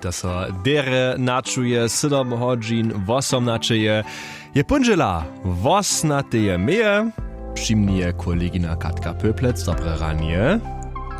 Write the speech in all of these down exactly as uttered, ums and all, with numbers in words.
To so derje načuje, sydom hodźin wosomnaćeje je póndźela, wosnateje meje. Při mni je kolegina Katka Pöplec. Dobre ranje.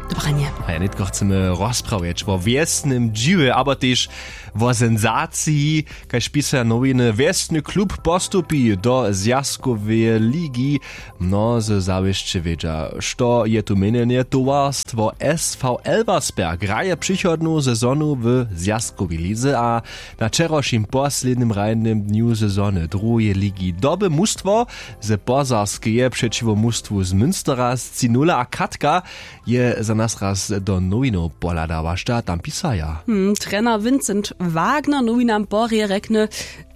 Dobre ranje. A ja nětko chcemy rozprawjeć wo wjesnym dźiwje abo tež wo senzaciji, kaž pisaja nowiny: wjesny klub postupi do zwjazkoweje ligi. Mnozy zawěsće wědźa, što je tu měnjenje. Towarstwo sv elversberg hraje přichodnu sezonu w zwjazkowej lize a na wčerawšim poslednim hrajnym dnju sezony druheje ligi doby mustwo ze pozarskeje přećiwo mustwu z münstera scinula a katka je za nas raz do nowinow pohladała, što tam pisaja. Hmm, trener vincent wagner nowinam porje rjekny: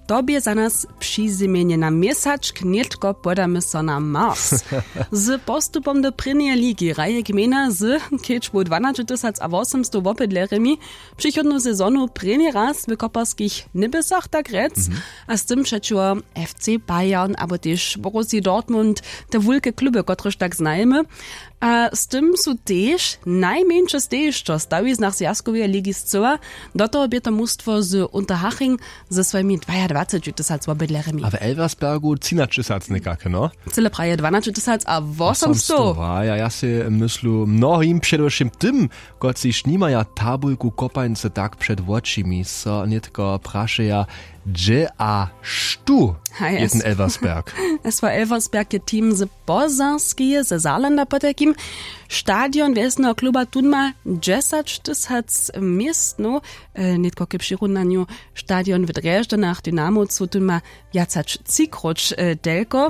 To bě za nas přizymjenje na měsačk, nětko podamy so na mars. Z postupom do prěnjeje ligi hraje gmejna z kedźbu dwanaće tysac a wosomstow wobydlerjemi přichodnu sezonu prěni raz w koperskich něbjesach, tak rjec. A z tym přećiwo fc bayern abo tež borussi dortmund, te wulke kluby, kotrež tak znajemy. A z tym su tež najmjeńše stejišćo w stawiznach zwjazkoweje ligi scyła. Do toho bě to mustwo z unterhaching ze swojimi dwajadwaceći tysac wobydlerjemi. A w elversbergu třinaćtysac někake, no? Cyle praje dwanaće tysac a wosomstow. A ja ja sej myslu, mnohim, předewšěm tym, kotřiž nimaja tabulku kopańce tak před wočimi, so nětko prašeja, hdźe a štó je ten elversberg? Sw elversberg je team z pozarskeje, ze saarlanda potajkim. Stadion wjesneho kluba tón ma dźesaćtysac městnow. Nětko k přirunanju: stadion w drježdźanach, dynamowcu, tón ma wjac hač třikróć telko.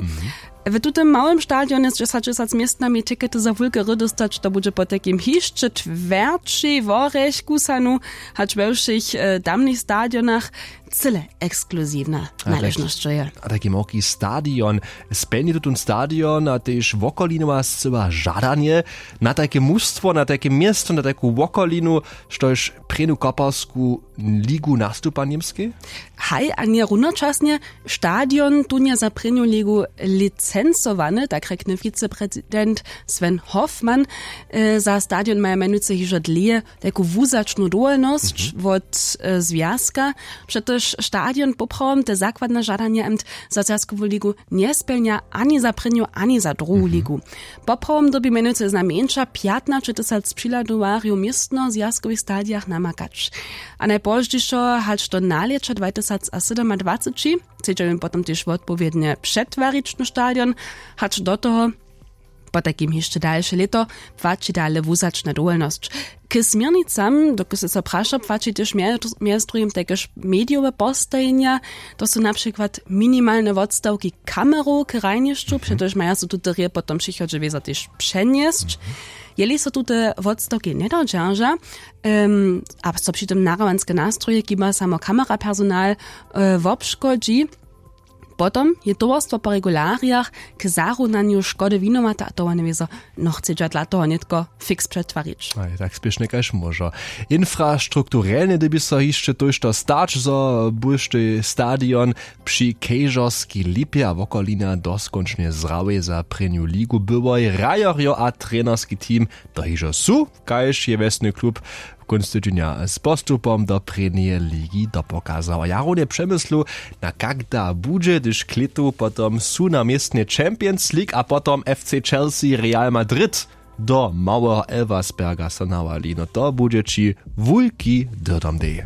W tutym małym stadionje z dźesaćtysac městnami tikety za wulke hry dóstać, to budźe potajkim hišće twjerćej worjech kusanu, hač we wšěch tamnych stadionach. Cyle ekskluziwna naležnosć je. A tajki małki stadion, spjelni tutón stadion a tež wokolinowa scyła žadanje na tajke mustwo, na tajke město, na tajku wokolinu, štož prěnu koparsku ligu nastupa němskej? Haj, a nje runočasnje. Stadion tón je za prěnju ligu licencowany, tak rjekny wiceprezident sven hoffmann. Za stadion maja mjenujcy hižo dlěje tajku wuzačnu dowolnosć wot zwjazka. Přetož stadion poprawom te zakładne žadanje amt za zwjazkowu ligu njespjelnja ani za prěnju ani za druhu ligu. Poprawom dyrbi mjenujcy znajmjeńša pjatnaćetysac přihladowarjow w městno zwjazkowych stadijach namakać. A najpozdźišo hač do nalěća dwajtysac a sydomadwaceći chcedźa jim potom tež wotpowědnje přetwarić na stadion. Hač do toho potajkim hišće dalše lěto płaći dale wuzačna dowolnosć. K směrnicam, dokelž sy so prašał, płaći tež mjez druhim tajkež medijowe postajenja. To su na přikład minimalne wotstawki kamerow k hrajnišću, přetož maja so tute rěje potom přichodźe wězo tež přenjesć, jeli so tute wotstawki njedodźerža a so při tym nahrawanske nastroje kiba samo kamerapersonal wobškodźi. Potom je towarstwo po regularijach k zarunanju škody winowate a towarnje wězo nochcedźa dla toho nětko fiks přetwarić. Aj tak spěšnje kaž móžo. Infrastrukturelnje dyrbi so hišće tójšto stać, zo bóštej stadion při kejžorskej lipje a wokolina doskónčnje zrawjej za prěnju ligu byłoj hrajerjo a trenerski team to hižo su, kaž je wjesny klub kónc tydźenja z postupom do prěnjeje ligi dopokazał a jarunje přemyslu, na kak da budźe hdyž klětu potom su na městnje champions league a potom fc chelsea real madrid do małeho elversberga so nawali, no to budźe ći wulki dyrdom dej.